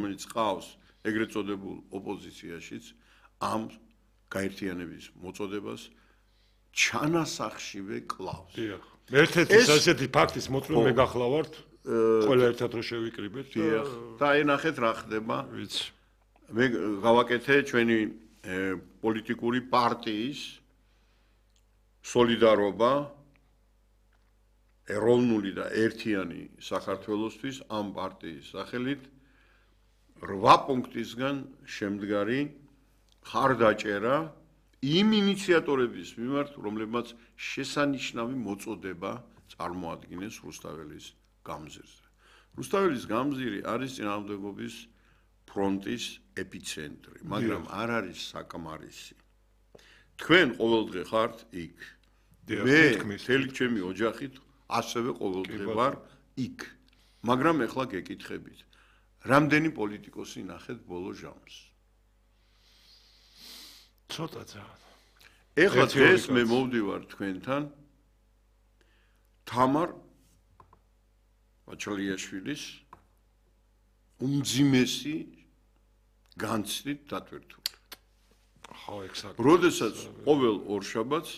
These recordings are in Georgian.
რომელიც ყავს ეგრეთ წოდებულ ოპოზიციაშიც ამ გაერთიანების მოწოდებას ჩანასახშივე კლავს. დიახ. ერთ-ერთი ასეთი ფაქტის მოწმე გახლავართ, ყველა ერთად რო შევიკრიბეთ და აი ნახეთ რა ხდება. ვიცი. მე გავაკეთე ჩვენი პოლიტიკური პარტიის სოლიდარობა ეროვნული და ერთიანი საქართველოსთვის ამ პარტიის სახელით 8 პუნქტისგან შემდგარი ხარდაჭერა იმ ინიციატორების მიმართ, რომლებმაც შესანიშნავი მოწოდება წარმოადგენს რუსთაველის გამზირზე. რუსთაველის გამზირი არის წინააღმდეგობის ფრონტის ეპიცენტრი, მაგრამ არ არის საკმარისი. თქვენ ყოველდღე ხართ იქ. მე მთელი ჩემი ოჯახით ასევე ყოველდღე ვარ იქ. მაგრამ ეხლა გეკითხებით, რამდენი პოლიტიკოსი ნახეთ ბოლო ჟამს? ცოტა ძალიან. ეხლა დღეს მე მოვდივარ თქვენთან თამარ აჩალიაშვილის უმძიმესი განცდით დატვირთული. ხო, ექსაქტ. როდესაც ყოველ ორშაბათს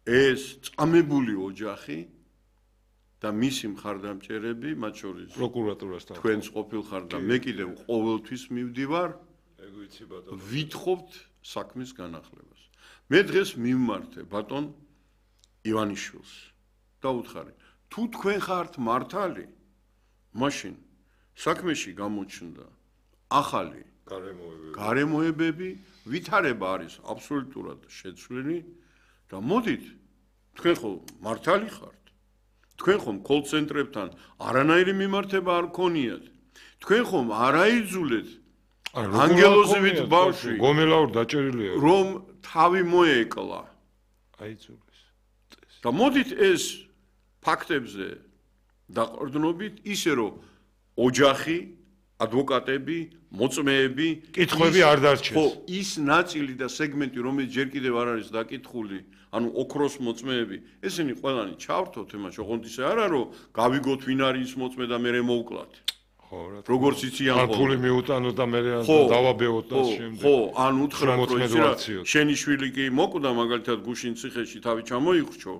ეს წამებული ოჯახი და მისი მხარდამჭერები, მათ შორის პროკურატურასთან თქვენს ყოფილ ხარ და მე კიდევ ყოველთვის მივდივარ, ეგ ვიცი ბატონო. ვითხოვთ საქმის განახლებას. მე დღეს მიმმართე ბატონ ივანიშვილს და უთხარი, თუ თქვენ ხართ მართალი, მაშინ საქმეში გამოჩნდა ახალი გარემოებები, ვითარება არის აბსოლუტურად შეცვლილი და მოდით, თქვენ ხო მართალი ხართ. თქვენ ხომ კოლ-ცენტრებთან არანაირი მიმართება არ გქონიათ. თქვენ ხომ არ აიძულეთ ანგელოზივით ბავშვი გომელაურ დაჭერილია რომ თავი მოეკლა. აიძულეს. და მოდით ეს ფაქტებზე დაყრდნობით ისე რომ ოჯახი, ადვოკატები, მოწმეები, კითხვები არ დარჩეს. ხო, ის ნაწილი და სეგმენტი, რომელიც ჯერ კიდევ არ არის დაკითხული, ანუ ოქროს მოწმეები, ესენი ყველანი ჩავრთოთ ემაში, ოღონდ ისე არა, რომ გავიგოთ ვინ არის ის მოწმე და მე მოვკლათ. ხო, რა. როგორც იციან ან ფული მიუტანოთ და მე დავაბეოთ და შემდეგ. ხო, ან უთხრათ რომ შენი შვილი კი მოკვდა მაგალითად გუშინ ციხეში თავი ჩამოიხრჩო.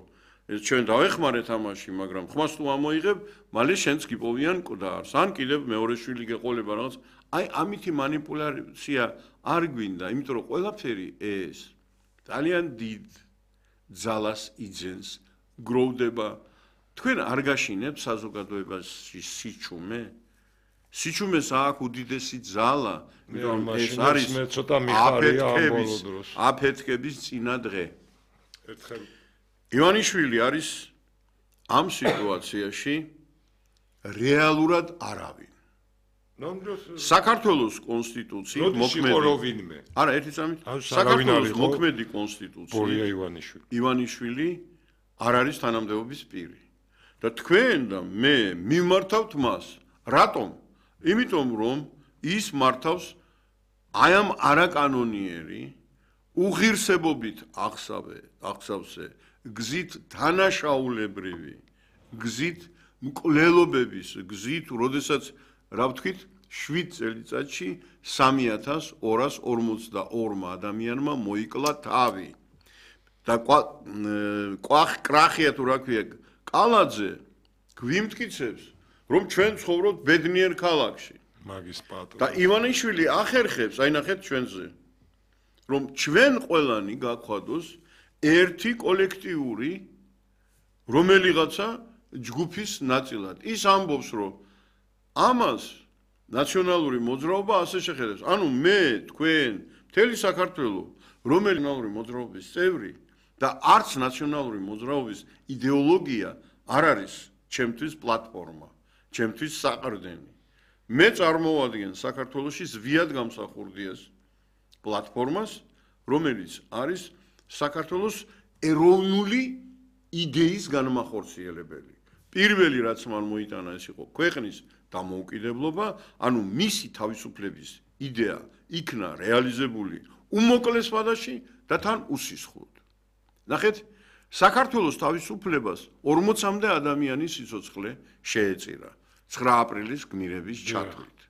ეს ჩვენ დავეხმარეთ ამაში, მაგრამ ხმას თუ ამოიღებ, მალე შენც გიპოვიან მკვდარს. ან კიდევ მეორე შვილი გეყოლება რაღაც. აი ამითი манипуляცია არ გვინდა, იმიტომ რომ ყველაფერი ეს ძალიან დიდ ძალას იძენს, გროვდება. თქვენ არ გაშინებთ საზოგადოებაში სიჩუმე? სიჩუმეს აქვს უდიდესი ძალა, იმიტომ ეს არის ცოტა მიხარია ამ ბოლო დროს. აფეთქების წინა დღე. ერთხელ ივანიშვილი არის ამ სიტუაციაში რეალურად არავინ. საქართველოს კონსტიტუციის მოქმედი. არა, ერთი წამით. საქართველოს მოქმედი კონსტიტუცია ივანიშვილი არ არის თანამდებობის პირი. და თქვენ და მე მიმართავთ მას. რატომ? იმიტომ რომ ის მართავს აი ამ არაკანონიერი უღირსებობით აღსავსე გზით თანაშაულებრივი გზით მკვლელობების გზით, როდესაც რა ვთქვით 7 წელიწადში 3242 ადამიანმა მოიკლა თავი და კრახია თუ რა ქვია კალაძე გვიმტკიცებს რომ ჩვენ ცხოვრობთ ბედნიერ ქალაქში მაგის პატრონი და ივანიშვილი ახერხებს აი ნახეთ ჩვენზე რომ ჩვენ ყველანი გაგვხადოს ერთი კოლექტიური რომელიღაცა ჯგუფის ნაწილად ის ამბობს რომ ამას ნაციონალური მოძრაობა ასე შეხედავს ანუ მე თქვენ მთელი საქართველო რომელი ნაციონალური მოძრაობის წევრი და არც ნაციონალური მოძრაობის იდეოლოგია არ არის ჩემთვის პლატფორმა ჩემთვის საყრდენი მე წარმოვადგენ საქართველოში ზვიად გამსახურდიას პლატფორმას რომელიც არის საქართველოს ეროვნული იდეის განმახორციელებელი პირველი რაც მან მოიტანა ეს იყო ქვეყნის დამოუკიდებლობა ანუ მისი თავისუფლების იდეა იქნა რეალიზებული უმოკლეს ვადაში და თან უსისხლოდ ნახეთ საქართველოს თავისუფლებას 40-მდე ადამიანის სიცოცხლე შეეწირა 9 აპრილის გმირების ჩათვლით